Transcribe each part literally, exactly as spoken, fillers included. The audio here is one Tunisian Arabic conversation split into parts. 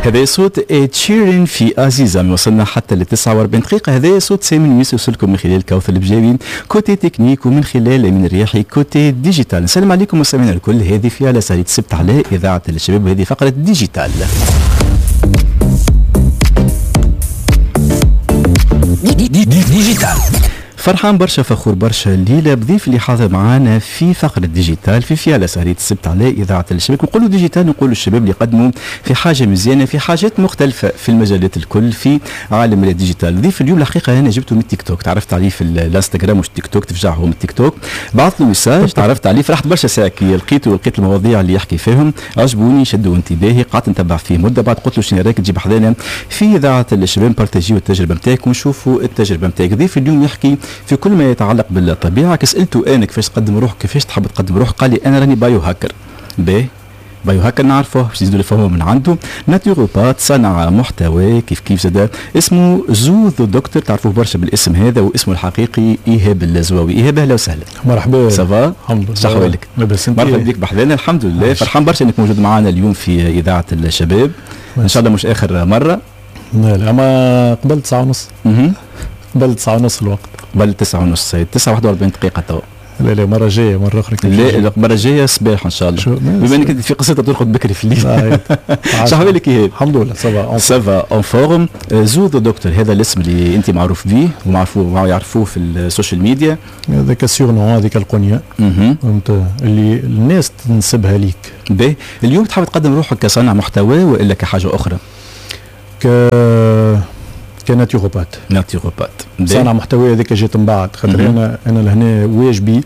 هذا صوت إد شيرين في عزيزة. وصلنا حتى ل تسعة وأربعين دقيقة. هذا صوت سامي نويس يوصلكم من خلال كوثر البجاوي côté technique ومن خلال أمين الرياحي côté digital. نسلم عليكم مستمعينا الكل. هذه في على سهرة السبت على إذاعة الشباب وهذه فقرة digital. digital. فرحان برشا، فخور برشا الليلة بضيف اللي حاضر معانا في فقره digital في فيالا سهريه السبت على اذاعة الشباب. نقولوا digital نقولوا الشباب اللي قدموا في حاجة مزيانه، في حاجات مختلفة في المجالات الكل في عالم ال digital. ضيف اليوم الحقيقة انا جبته من التيك توك، تعرفت عليه في الانستغرام مش التيك توك، تفجعهم التيك توك، بعثت له message تعرفت عليه، فرحت برشا ساعة كي لقيته ولقيت المواضيع اللي يحكي فيهم عجبوني، شدوا انتباهي، قعدت نتبع فيه مده. بعد قلت له شنو رايك تجيب حذانا في اذاعة الشباب بارتاجيو التجربة نتاعك ونشوفوا التجربة نتاعك. ضيف اليوم يحكي في كل ما يتعلق بالطبيعة. كسالته انا كيفاش تقدم روحك، كيفاش تحب تقدم روحك، قال لي انا راني biohacker. باهي biohacker نعرفه باش يزيدوا يفهموا من عنده. naturopathe، صنع محتوى كيف كيف زاد اسمه زو the doctor، تعرفوه برشا بالاسم هذا، واسمه الحقيقي ايهاب الزواوي. ايهاب اهلا وسهلا. مرحبا. ça va؟ الحمد لله. صح حوالك؟ لاباس. مرحبا بك بحذانا. الحمد لله، فرحان برشا انك موجود معنا اليوم في اذاعة الشباب. ان شاء الله مش اخر مرة. لا لا، اما قبل تسعة ونص. قبل تسعة ونص الوقت. قبل تسعة ونص، تسعة وواحد وأربعين دقيقة تو. لا لا، مرة جاية مرة أخرى. لا المرة الجاية صباح إن شاء الله. بما أنك في قصتها ترقد بكري في الليل. شو حوالك إيهاب؟ الحمد لله ça va. ça va en forme. زو the doctor، هذا الاسم اللي أنت معروف به ومعروفوه يعرفوه في ال social media. هذاك ال surnom، هذيك القنية فهمت اللي الناس تنسبها ليك. باهي، اليوم تحب تقدم روحك كصانع محتوى وإلا كحاجة أخرى؟ ك ك naturopathe. naturopathe. صانع محتوى هذاك جات من بعد، خاطر انا انا لهنا واجبي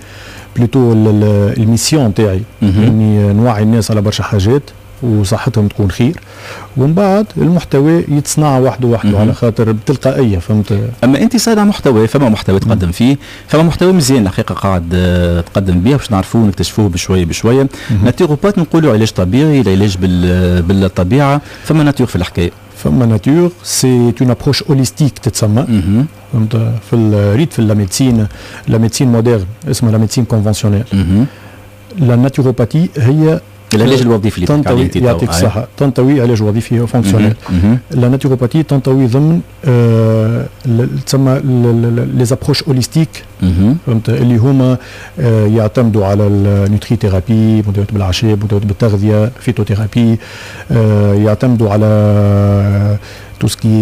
plutôt ال mission تاعي اني نوعي الناس على برشا حاجات وصحتهم تكون خير، ومن بعد المحتوى يتصنع وحده وحده على خاطر بتلقائيه فهمت. اما انت صانع محتوى، فما محتوى تقدم فيه، فما محتوى مزيان الحقيقة قاعد تقدم به باش نعرفوه ونكتشفوه بشوية بشوية. naturopathe نقولوا علاج طبيعي، العلاج بالطبيعة، فما nature في الحكاية. فما nature، c'est une approche holistique تتسمى فهمت. في الريت في la médecine، la médecine moderne اسمها la médecine conventionnelle. la naturopathie هي العلاج الوظيفي اللي تنطوي، يعطيك الصحة، تنطوي علاج وظيفي fonctionnel. la naturopathie تنطوي ضمن آه تسمى les approches holistiques فهمت، اللي هما آه يعتمدوا على ال nutrithérapie، مداوات بالاعشاب، مداوات بالتغذية، phytothérapie، آه يعتمدوا على tout ce qui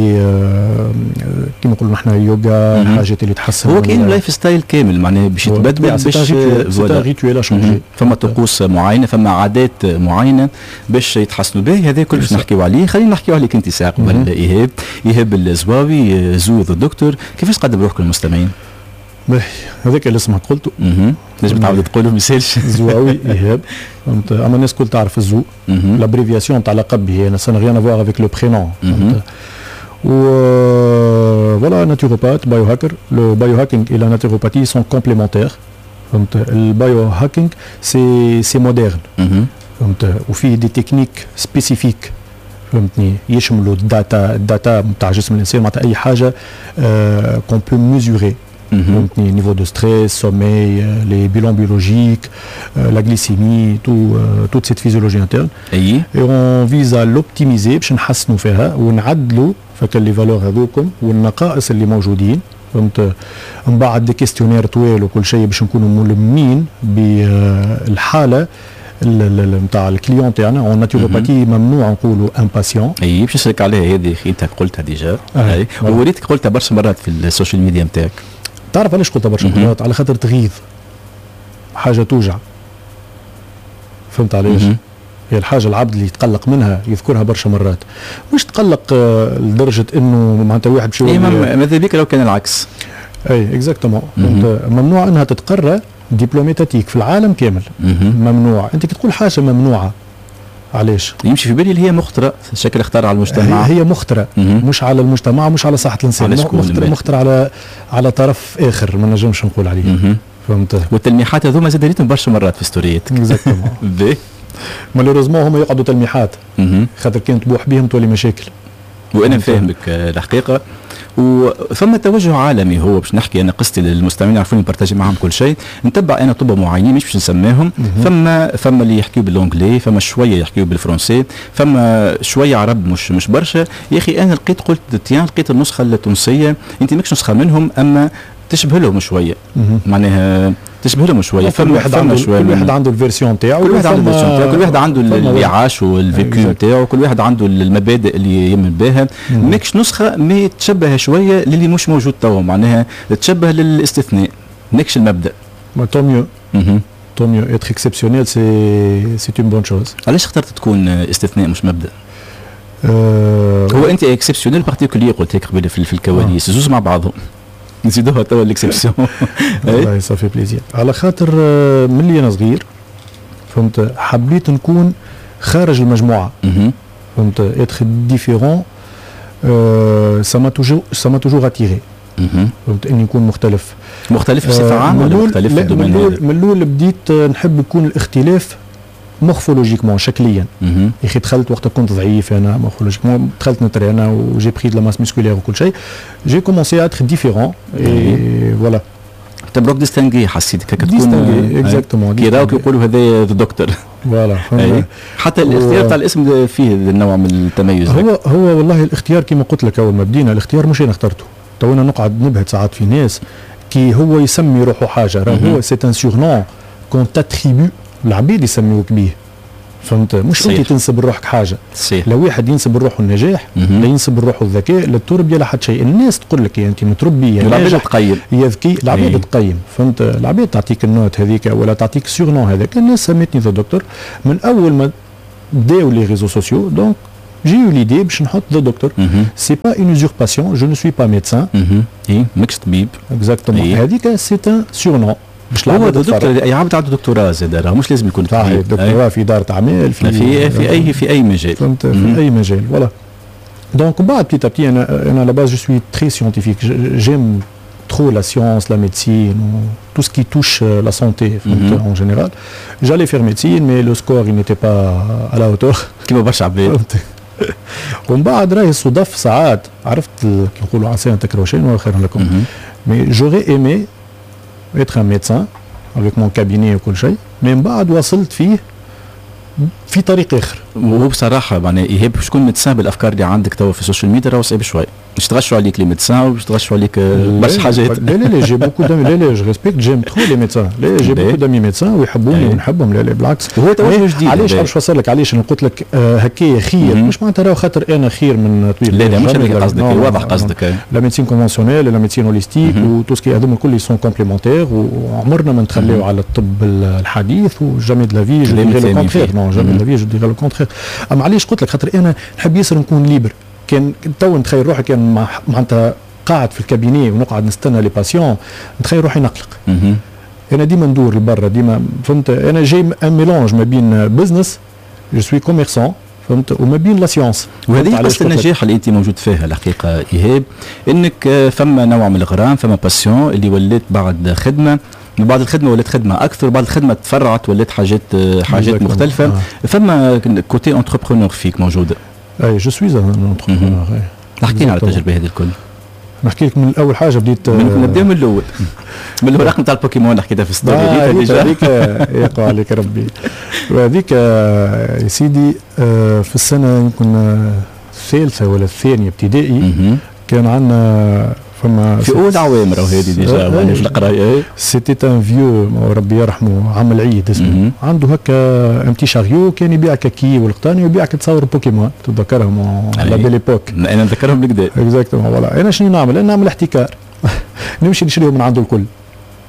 كيما نقولوا نحن يوغا، الحاجات اللي تحسن. هو كاين lifestyle كامل معناها باش يتبدل، باش rituel changer، فما طقوس معينة، فما عادات معينة باش يتحسنوا به. هذا كل باش نحكيو عليه. خلينا نحكيو عليك انت ساعة قبل ايهاب. ايهاب الزواوي زو the doctor، كيفاش تقدم روحك للمستمعين؟ باهي، هذاك اللي اسمك قلته. نجم تعاود تقوله ما يسالش. زواوي ايهاب فهمت، اما الناس الكل تعرف الزو، l'abréviation تاع لقب هي ça n'a rien à voir avec le prénom فهمت. و voilà naturopathe biohacker. le biohacking et la naturopathie sont complémentaires فهمت. ال biohacking c'est c'est moderne فهمت، وفيه des techniques spécifiques فهمتني، يشملوا ال data، ال data نتاع جسم الانسان، معناتها اي حاجة qu'on peut mesurer فهمتني، niveau de stress، sommeil، les bilans biologiques، la glycémie، tout toute cette physiologie interne. اي et on vise à l'optimiser باش نحسنوا فيها ونعدلوا فك les valeurs هذوكم والنقائص اللي موجودين فهمت. من بعد des questionnaires طويل وكل شيء باش نكونوا ملمين بالحالة نتاع ال client تاعنا. en naturopathie ممنوع نقولوا un patient. اي باش نسالك عليها هذه، انت قلتها déjà. اي ووريتك قلتها برشا مرات في ال social media نتاعك. تعرف علاش قلتها برشا مرات؟ على خاطر تغيظ، حاجة توجع فهمت علاش؟ هي الحاجة العبد اللي يتقلق منها يذكرها برشا مرات، مش تقلق لدرجة انه معناتها واحد باش إيه، ماذا بك لو كان العكس. اي exactement. ممنوع انها تتقرى diplôme étatique في العالم كامل. ممنوع. انت كي تقول حاجة ممنوعة علاش؟ يمشي في بالي اللي هي مخطره، شكل اختار على المجتمع. هي مخطره مش على المجتمع، مش على صحة الانسان، مخطره مخطره على على طرف اخر ما نجمش نقول عليه فهمت. والتلميحات هذوما زاد ريتهم برشا مرات في ستوريات. exactement. malheureusement هما يقعدوا تلميحات خاطر كان تبوح بهم تولي مشاكل. وانا فاهمك الحقيقة، وفما توجه عالمي، هو باش نحكي انا قصتي للمستمعين يعرفوني ن partager معهم كل شيء، نتبع انا طب معينين مش باش نسميهم، فما فما اللي يحكيو بال anglais، فما شوية يحكيو بال français، فما شوية عرب مش مش برشا. يا اخي انا لقيت، قلت tiens، لقيت النسخة التونسيه، انت ماكش نسخه منهم اما تشبه لهم شويه، معناها تشبه لهم شويه. فما واحد عنده، شوية كل واحد عنده ال version تاعو. كل واحد عنده ال version تاعو، كل واحد عنده اللي عاش وال vécu نتاعو، كل واحد عنده المبادئ اللي يمن بها. ماكش نسخه mais تشبه شوية للي مش موجود توا، معناها تشبه للاستثناء، ماكش المبدا. tant mieux، tant mieux، être exceptionnel c'est c'est une bonne chose. علاش اخترت تكون استثناء مش مبدا؟ أه هو انت exceptionnel particulier، قلت لك قبل في الكواليس، زوز مع بعضهم نزيدوها توا l'exception. والله ça fait plaisir، على خاطر من اللي انا صغير فهمت حبيت نكون خارج المجموعه، فهمت، être différent ça m'a toujours ça m'a toujours attiré، فهمت، اني نكون مختلف. مختلف بصفة عامة ولا مختلف في ال domaine؟ من الاول بديت نحب يكون الاختلاف morphologiquement، شكليا. يا اخي دخلت وقت كنت ضعيف انا morphologiquement، دخلت نترينا و j'ai pris de la masse musculaire وكل شيء، j'ai commencé à être différent et voilà. تبروك distingué، حسيت هكا تكون distingué، exactement. كي راوك يقولوا هذا الدكتور. voilà. حتى الاختيار تاع الاسم فيه النوع من التميز. هو هو والله الاختيار كما قلت لك اول ما بدينا، الاختيار مش انا اخترته. تو انا نقعد نبهت ساعات في ناس كي هو يسمي روحه حاجه، راه هو c'est un surnom qu'on t'attribue، العبيد يسميوك بيه، فهمت، مش صحيح. انت تنسب لروحك حاجه. صحيح. لو واحد ينسب لروحه النجاح، لا ينسب لروحه الذكاء، لا التربيه، لا حتى شيء. الناس تقول لك يا انت متربي، يا العباد تقيم. يا ذكي، العباد إيه. تقيم، فهمت، العباد تعطيك ال note هذيك ولا تعطيك surnom هذاك. الناس سميتني the doctor من اول ما بداو les réseaux sociaux، donc j'ai eu l'idée باش نحط the doctor. c'est pas une usurpation، je ne suis pas médecin. اي، ماكش طبيب. exactement، هذيك c'est un surnom. باش هو دكتور، اي عبد عنده دكتوراه زاد راه مش لازم يكون طبيب. دكتوراه في ادارة اعمال. في في في اي في اي مجال. فهمت، في اي مجال، voilà. donc بعد petit à petit، انا انا à la base je suis très scientifique، j'aime trop la science, la médecine, tout ce qui touche la santé en général. J'allais faire médecine, mais le score il n'était pas à la hauteur. كيما برشا عباد. ومن بعد راهي صدف ساعات، عرفت كي نقولوا عسى ان تكرهوا شيئا وهو خير لكم. mais j'aurais aimé être un médecin avec mon cabinet وكل شيء، من بعد وصلت فيه في طريق اخر. وهو بصراحة معناها ايهاب، باش تكون médecin بالافكار اللي عندك توا في ال social media راهو صعيب شوي، باش تغشوا عليك les médecins وباش تغشوا عليك برشا حاجات. لا لا لا، j'ai beaucoup d'amis، لا لا، je respecte، j'aime trop les médecins، لا، j'ai beaucoup d'amis médecins ويحبوني ونحبهم، لا لا بالعكس. هو توجه جديد. علاش باش نفسر لك علاش انا قلت لك آه هكايا خير، مش معناتها راهو خاطر انا خير من طبيب. لا لا، مش هذاك قصدك، واضح قصدك. la médecine conventionnelle، la médecine holistique و tout ce qui هذوما الكل sont complémentaires، وعمرنا ما نتخليو على الطب الحديث و jamais de la vie je dirais le contraire، non، jamais de la vie je dirais le contraire. اما علاش قلت لك؟ خاطر انا نحب ياسر نكون libre. كان تو نتخيل روحي كان معناتها قاعد في ال cabinet ونقعد نستنى les patients، نتخيل روحي نقلق. انا ديما ندور لبرا ديما، فهمت، انا j'ai un mélange ما بين business، je suis commerçant، فهمت، وما بين la science. وهذه قصة النجاح اللي انت موجود فيها الحقيقة ايهاب، انك فما نوع من الغرام، فما passion اللي ولات بعد خدمه، من بعد الخدمة ولات خدمة اكثر، بعد الخدمة تفرعت ولات حاجات حاجات مختلفه. آه. فما côté entrepreneur فيك موجوده. اي، je suis un entrepreneur. احكي لنا على التجربة هذه الكل. نحكي لك من اول حاجة بديت. نبدا من الاول، من الورق نتاع البوكيمون، حكيتها في story. آه déjà هذيك يقع عليك ربي، وهذيك يا سيدي آه، في السنة يمكن الثالثة ولا الثانية ابتدائي كان عندنا فما في اول عوام راهو هذه déjà يعني في القرايه. c'était un vieux، ربي يرحمه، عم العيد اسمه، عنده هكا un petit chariot، كان يبيع كاكي والقطاني ويبيع تصاور بوكيمون، تتذكرهم، la belle époque. انا نذكرهم بالكدا. exactement، voilà. انا شنو نعمل؟ انا نعمل احتكار، نمشي نشريهم من عنده الكل،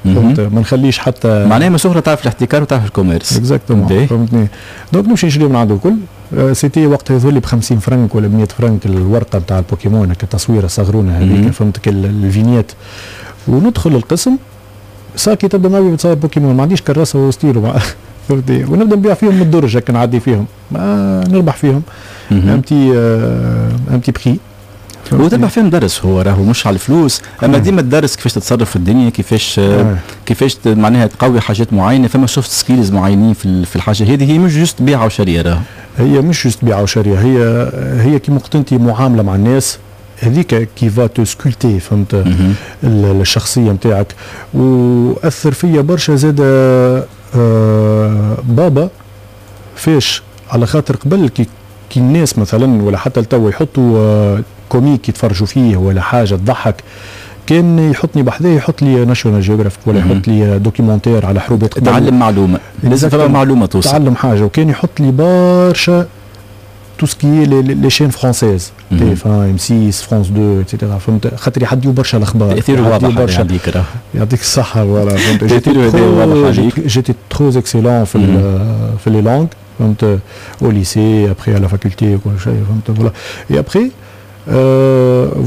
فهمت، ما نخليش حتى معناها من صغرى تعرف الاحتكار وتعرف ال commerce. exactement، فهمتني، donc نمشي نشريهم من عنده الكل. c'était وقتها يظهر لي ب خمسين فرنك ولا ب مية فرنك الورقة نتاع البوكيمون، هكا تصويره صغرونه هذيك، فهمت، ال vignette. وندخل القسم، sac ي تبدا معبي بتصور بوكيمون، ما عنديش كراسة وستيلو، فهمتني، ونبدا نبيع فيهم من الدرج هكا، نعدي فيهم، ما نربح فيهم un petit un petit prix. وتربح فيهم درس، هو راهو مش على الفلوس، اما ديما الدرس كيفاش تتصرف في الدنيا، كيفاش كيفاش معناها تقوي حاجات معينه، فما soft skills معينين في في الحاجة هذه، هي مش juste بيعه وشريه راهو. هي مش juste بيعه وشريه، هي هي كيما قلت انت معاملة مع الناس، هذيك qui va te sculpter، فهمت، الشخصية نتاعك. واثر فيا برشا زاد آه بابا فاش، على خاطر قبل كي كي الناس مثلا ولا حتى لتوا يحطوا آه comique يتفرجوا فيه ولا حاجة تضحك، كان يحطني بحذاه، يحط لي National Geographic ولا يحط لي documentaire على حروبات. تعلم معلومه، لازم فما معلومة توصل. تعلم حاجه. وكان يحط لي برشا tout ce qui est les chaînes françaises، تي إف وان، إم سيس، France تو، et cetera، فهمت، خاطر يعديو برشا الاخبار. تاثيره واضح برشا عليك. يعطيك الصحه، voilà، فهمت، j'étais très excellent في في les langues، فهمت، au lycée، après à la faculté وكل شيء، فهمت، voilà. et après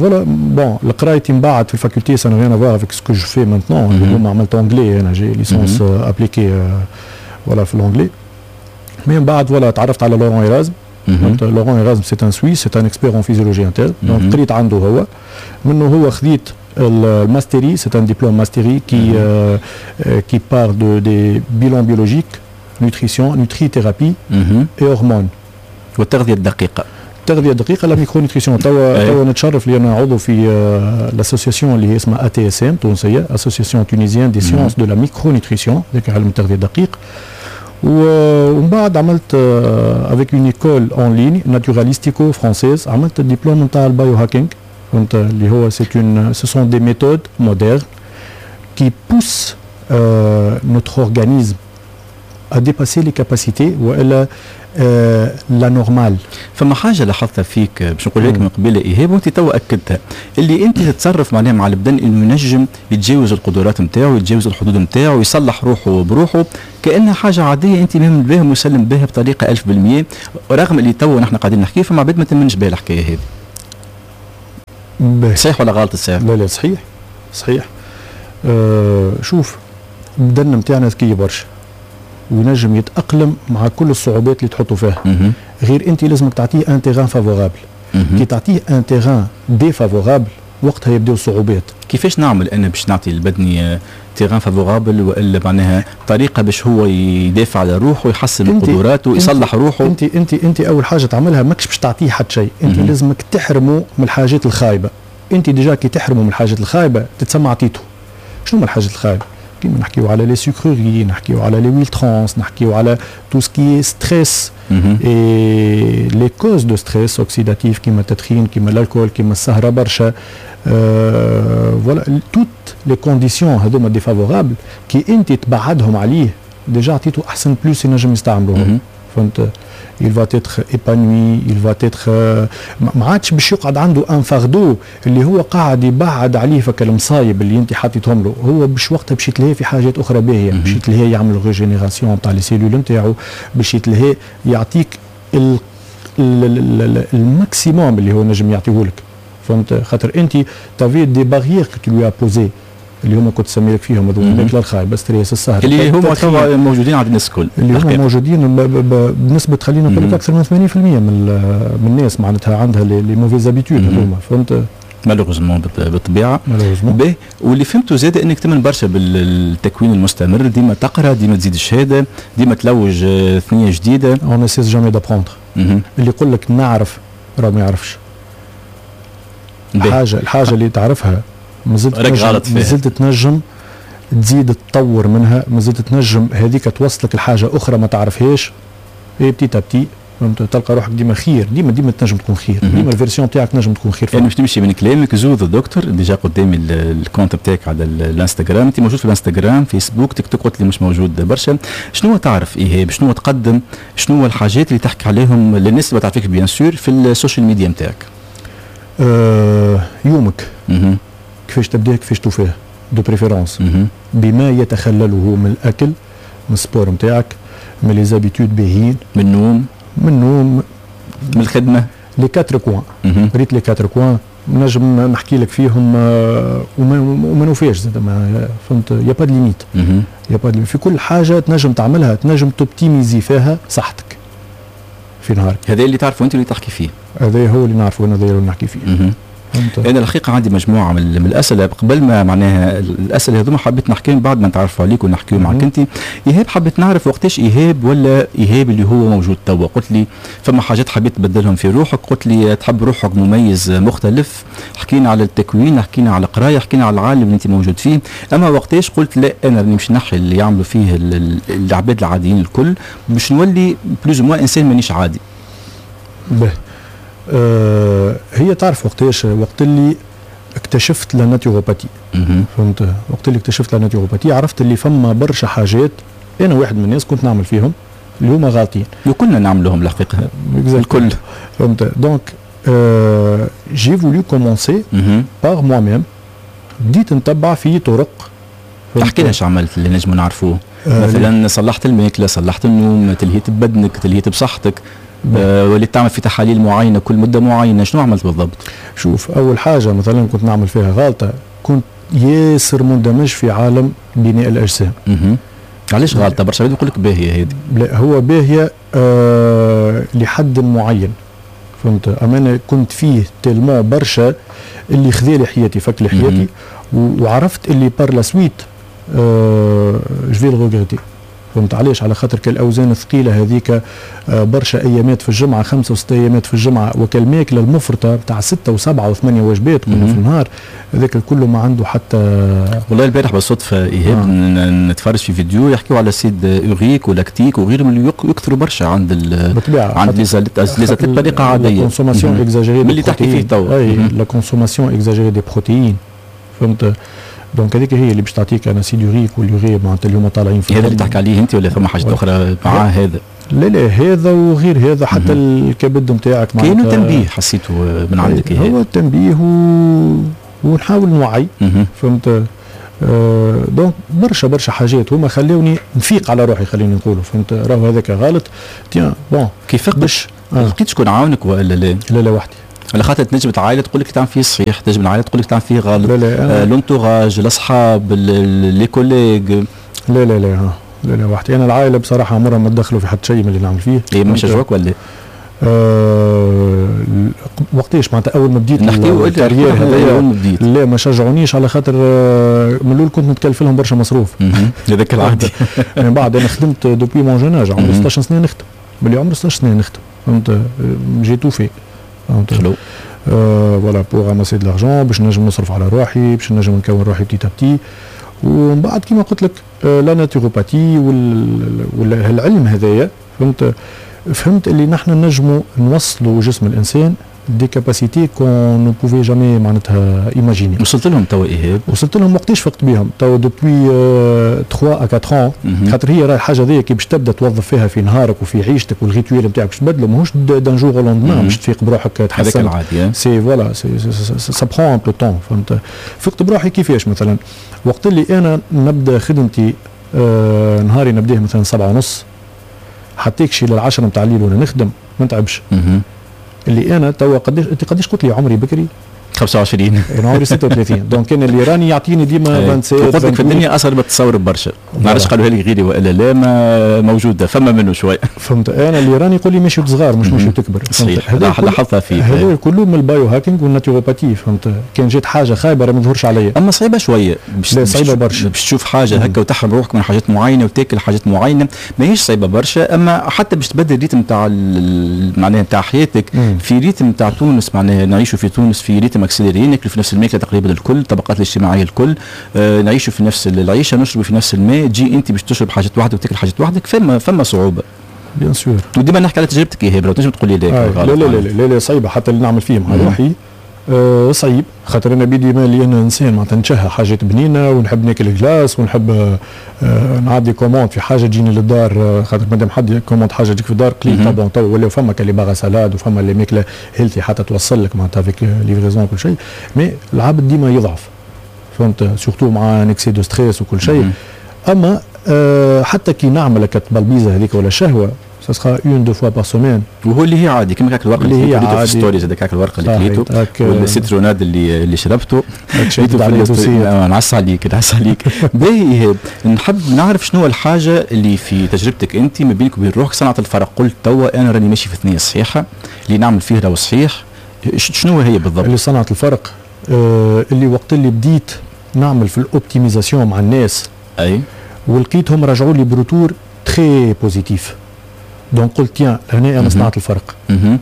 voilà، bon، القرايتي من بعد في ال faculté ça n'a rien à voir avec ce que je fais maintenant. اللي هما عملت anglais، انا j'ai licence appliquée، voilà، في l'anglais. mais من بعد voilà تعرفت على Laurent Erasme. Laurent Erasme، c'est un Suisse، c'est un expert en physiologie interne. donc قريت عنده هو، منه هو خذيت ال mastery، c'est un diplôme mastery qui qui parle de des bilans biologiques، nutrition، nutrithérapie et hormones. والتغذيه الدقيقه. التغذية الدقيقه، la micronutrition. توا توا نتشرف لان عضو في l'association اللي هي اسمها ATSM تونسيه، Association tunisienne des sciences de la micronutrition، ذاك علم التغذية الدقيق. ومن بعد عملت avec une école en ligne Naturalistico française، عملت الدبلوم نتاع ال biohacking، فهمت، اللي هو c'est une ce sont des méthodes modernes qui poussent notre organisme à dépasser les capacités والا la normale. فما حاجة لاحظتها فيك باش نقول لك من قبيلة ايهاب، وانت تو اكدتها، اللي انت تتصرف معناها مع البدن انه ينجم يتجاوز القدرات نتاعو، يتجاوز الحدود نتاعو، يصلح روحه بروحه كانها حاجة عاديه. انت مؤمن بها ومسلم بها بطريقة ألف بالمية، رغم اللي تو نحن قاعدين نحكي فما عباد ما تمنش بها الحكاية هذه. صحيح ولا غلط الساعة؟ لا لا، صحيح صحيح. أه شوف، البدن نتاعنا ذكي برشا وينجم يتاقلم مع كل الصعوبات اللي تحطوا فيها، غير انت لازمك تعطيه un terrain favorable. كي تعطيه un terrain défavorable وقتها يبداو الصعوبات. كيفاش نعمل انا باش نعطي البدني terrain favorable، والا معناها طريقه باش هو يدافع على روحه ويحسن من قدراته ويصلح روحه؟ انت انت انت اول حاجة تعملها ماكش باش تعطيه حتى شيء، انت لازمك تحرمه من الحاجات الخايبه. انت déjà كي تحرمه من الحاجات الخايبة تتسمى عطيته. شنو هما الحاجات الخايبة؟ كيما نحكيو على les sucreries، نحكيو على les huiles trans، نحكيو على tout ce qui est stress et les causes de stress oxydatif، كيما التدخين، كيما l'alcool، كيما السهرة برشا، voilà، toutes les conditions هذوما défavorables كي انت تبعدهم عليه déjà عطيته احسن plus ينجم يستعملوه، فهمت، il va être épanoui، il va être ما عادش باش يقعد عنده un fardeau اللي هو قاعد يبعد عليه فك المصايب اللي انت حطيتهم له. هو باش وقتها باش يتلهي في حاجات اخرى باهيه، باش يتلهي يعمل régénération تاع les cellules نتاعو، باش يتلهي يعطيك ال maximum اللي هو نجم يعطيه لك، فهمت، خاطر انت t'avais des barrières que tu lui as posées اللي هما كنت سمي لك فيهم هذوك، الماكلة الخايبه، stress، السهر. اللي هما توا موجودين عند الناس الكل. اللي هما موجودين بنسبة خلينا نقول لك اكثر من ثمانين في المية من من الناس معناتها عندها les mauvaises habitudes هذوما، فهمت. malheureusement، بالطبيعه. باهي، واللي فهمته زاد انك تمن برشا بالتكوين المستمر، ديما تقرا، ديما تزيد الشهاده، ديما تلوج ثنيه جديده. on ne cesse jamais d'apprendre. اللي يقول لك نعرف راه ما يعرفش الحاجه. الحاجة اللي تعرفها مازلت تنجم، مازلت تنجم تزيد تطور منها، مازلت تنجم هذيك توصلك لحاجة اخرى ما تعرفهاش. et petit à petit، فهمت، تلقى روحك ديما خير، ديما ديما تنجم تكون خير، ديما ال version تاعك تنجم تكون خير. يعني باش تمشي من كلامك Zoo the Doctor، déjà قدامي ال compte بتاعك على الانستغرام، انت موجود في الانستغرام، فيسبوك، تيك توك قلت لي مش موجود برشا. شنو تعرف ايهاب؟ شنو تقدم؟ شنو الحاجات اللي تحكي عليهم للناس اللي ما تعرفك bien sûr في ال social media نتاعك؟ آه يومك كيفاش تبدا، كيفاش توفيه، de préférence بما يتخلله من الاكل، من ال sport نتاعك، من les habitudes باهيين. من النوم. من النوم. من الخدمه. les quatre coins، ريت les quatre coins نجم نحكي لك فيهم آه، وما وما نوفيش زاد، ما فهمت، y a pas de limite، y a pas في كل حاجة تنجم تعملها تنجم t'optimiser فيها صحتك في نهارك. هذا اللي تعرفه انت اللي تحكي فيه. هذا هو اللي نعرفه انا، هذا اللي نحكي فيه. انا الحقيقة عندي مجموعة من الاسئلة قبل ما معناها الاسئلة هذوما حبيت نحكيهم بعد ما نتعرفوا عليك ونحكيو معك انت ايهاب. حبيت نعرف وقتاش ايهاب ولا ايهاب اللي هو موجود توا. قلت لي فما حاجات حبيت تبدلهم في روحك، قلت لي تحب روحك مميز مختلف، حكينا على التكوين، حكينا على القراية، حكينا على العالم اللي انت موجود فيه. اما وقتاش قلت لا انا راني باش نحي اللي يعملوا فيه العباد العاديين الكل باش نولي plus ou moins انسان مانيش عادي؟ به آه هي تعرف وقتاش، وقت اللي اكتشفت la naturopathie. فهمت؟ وقت اللي اكتشفت la naturopathie عرفت اللي فما برشا حاجات انا واحد من الناس كنت نعمل فيهم اللي هما غالطين. وكلنا نعملوهم الحقيقة الكل. فهمت؟ donc آه j'ai voulu commencer par moi-même. بديت نتبع في طرق. تحكي لنا ايش عملت اللي نجموا نعرفوه؟ آه مثلا صلحت الماكلة، صلحت النوم، تلهيت ببدنك، تلهيت بصحتك، آه وليت تعمل في تحاليل معينة كل مده معينة، شنو عملت بالضبط؟ شوف، اول حاجة مثلا كنت نعمل فيها غلطه، كنت ياسر مندمج في عالم بناء الاجسام. علاش غلطه؟ برشا عباد يقول لك باهيه هذه. لا هو باهيه آه لحد معين. فهمت؟ اما انا كنت فيه tellement برشا اللي خذالي حياتي، فك لي حياتي، وعرفت اللي par la suite آه je vais le regretter. فهمت علاش؟ على خاطر كالاوزان الثقيلة هذيك برشا ايامات في الجمعة، خمسة وست ايامات في الجمعة، وكالماكله المفرطة تاع ستة وسبعة وثمانية وجبات كل في النهار، هذاك الكل ما عنده حتى. والله البارح بالصدفة ايهاب آه. نتفرج في فيديو يحكيوا على l'acide urique و lactique وغيرهم اللي يكثروا برشا عند ال بالطبيعة عند les athlètes بطريقة عادية. consommation exagérée اللي تحكي فيه توا. اي la consommation exagérée des protéines. فهمت؟ donc هذيك هي اللي باش تعطيك un acide urique وال urée معناتها اللي هما طالعين في. هذا اللي تحكي عليه انت ولا فما حاجة اخرى مع هذا؟ لا لا هذا وغير هذا، حتى الكبد نتاعك. كاينو تنبيه حسيته من عندك؟ هو التنبيه و... ونحاول نوعي. فهمت؟ آه donc برشا برشا حاجات هما خلوني نفيق على روحي، خليني نقولوا. فهمت؟ راهو هذاك غلط، tiens bon. كيف باش آه. لقيت شكون عاونك ولا لا؟ لا لا وحدي. على خاطر تنجم العائلة تقول لك تعمل فيه صحيح، تنجم العائلة تقول لك تعمل فيه غلط. لا لا آه l'entourage، الاصحاب، les collègues. لا لا لا لا لا وحدي. انا العائلة بصراحة عمرها ما تدخلوا في حتى شيء من اللي نعمل فيه. إيه ما شجعوك ولا؟ أه وقتاش معناتها اول ما بديت نحكيو ال carrière هذايا؟ لا ما شجعونيش على خاطر من الاول كنت نتكلف لهم برشا مصروف. هذاك العادي. من بعد انا خدمت depuis mon jeune âge، عمري ستاش سنة نخدم، ملي عمري ستاش سنة نخدم. فهمت؟ j'ai tout fait. فهمت؟ حلو. voilà pour ramasser de l'argent باش نجم نصرف على روحي، باش نجم نكون روحي petit à petit. ومن بعد كيما قلت لك la naturopathie والعلم هذايا، فهمت؟ فهمت اللي نحن نجموا نوصلوا جسم الانسان des capacités qu'on ne pouvait jamais معناتها imaginer. وصلت لهم توا ايهاب؟ وصلت لهم وقتاش فقت بهم؟ توا depuis ثلاثة à أربعة ans. خاطر هي راهي الحاجة هذيا كي باش تبدا توظف فيها في نهارك وفي عيشتك وال rituel نتاعك باش تبدلو، ماهوش d'un jour au lendemain باش تفيق بروحك تحسن. هذاك العادي. c'est voilà c'est ça prend un peu de temps. فهمت؟ فقت بروحي كيفاش مثلا وقت اللي انا نبدا خدمتي آه نهاري نبداه مثلا سبعة ونص حتى كشي للعشرة نتاع الليل وانا نخدم ما نتعبش. اللي انا توا قداش انت قداش قلت لي عمري بكري؟ خمسة وعشرين. انا عمري ستة وثلاثين. donc انا اللي راني يعطيني ديما سبعة وعشرين. قلت لك في الدنيا اصغر ما تتصور برشا، ما عرفتش قالوها لي غيري والا لا، ما موجودة فما منه شوي. فهمت؟ انا اللي راني يقول لي ماشي صغار مش ماشي تكبر. صحيح، لاحظتها فيك. هذا كله من ال biohacking وال naturopathie. فهمت؟ كان جات حاجة خايبة راه ما تظهرش عليا. اما صعيبة شوية. لا صعيبة برشا باش تشوف حاجة هكا وتحرم روحك من حاجات معينة وتاكل حاجات معينة، ماهيش صعيبة برشا. اما حتى باش تبدل ال rythme تاع معناها تاع حياتك في rythme تاع تونس، معناها نعيشوا في تونس في rythme accéléré، ناكلوا في نفس الماكلة تقريبا الكل، الطبقات الاجتماعية الكل، آه نعيشوا في نفس العيشة، نشربوا في نفس الماء. تجي انت باش تشرب حاجات وحدك وتاكل حاجات وحدك، فما فما صعوبة. bien sûr. وديما نحكي على تجربتك ايهاب، لو تنجم تقول لي لا. لا لا لا لا, لا صعيبة حتى اللي نعمل فيه مع روحي آه صعيب، خاطر انا بيدي مالي انا انسان معناتها نتشهى حاجات بنينه ونحب ناكل glace ونحب آه نعدي commande في حاجة تجيني للدار، آه خاطر مادام حد commande حاجة تجيك في الدار قليل. bon تو ولاو فما les bars à salades وفما اللي ماكله healthy حتى توصل لك معناتها avec livraison كل شيء، mais العبد ديما يضعف. فهمت؟ surtout مع un excès de stress وكل شيء. اما آه حتى كي نعمل التبلبيزه هذيك ولا الشهوة، ça sera une deux fois par semaine. وهو اللي هي عادي كما كاك الورقة اللي هي عادي في stories، هذاك الورقة اللي كليته وال citronnade اللي اللي شربته. نعس عليك نعس عليك. باهي، نحب نعرف شنو الحاجة اللي في تجربتك انت ما بينك وبين روحك صنعت الفرق، قلت توا انا راني ماشي في ثنيه صحيحه، اللي نعمل فيه راهو صحيح. شنو هي بالضبط؟ اللي صنعت الفرق آه اللي وقت اللي بديت نعمل في ال optimisation مع الناس، اي ولقيتهم رجعوا لي ب retour très positif، donc قلت tiens، لهنا انا صنعت الفرق.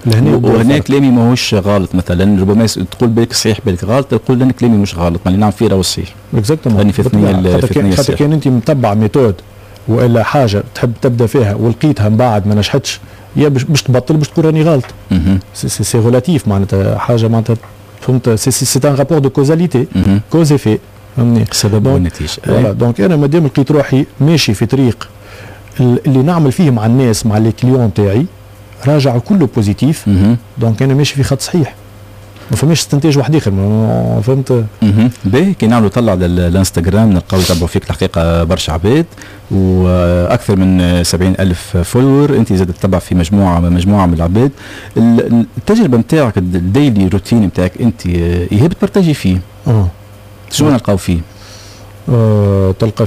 لهنا وهنا كلامي ماهوش غلط. مثلا ربما تقول بالك صحيح بالك غلط، تقول لان كلامي مش غلط، ما اللي نعمل فيه راهو صحيح. exactement. راني في ثنيه. في ثنيه. خاطر كان انت متبع méthode والا حاجة تحب تبدا فيها ولقيتها من بعد ما نجحتش، يا باش تبطل باش تقول راني غلط. c'est c'est relatif، معناتها حاجة معناتها فهمت، c'est c'est un rapport de causalité، cause effet. فهمني؟ سبب والنتيجه. voilà، donc انا مادام لقيت روحي ماشي في طريق اللي نعمل فيه مع الناس، مع les clients تاعي، راجع كله positif، donc انا ماشي في خط صحيح، ما فماش استنتاج واحد اخر، فهمت؟ باهي، كي نعملوا طلع على الانستغرام نلقاو يتبعوا فيك الحقيقة برشا عباد واكثر من سبعين الف follower. انت زاد تتبع في مجموعه مجموعه من العباد. التجربة نتاعك، ال daily routine نتاعك انت، ايهاب، ت partager فيه؟ اه شنو نلقاو فيه؟ آه تلقى فيه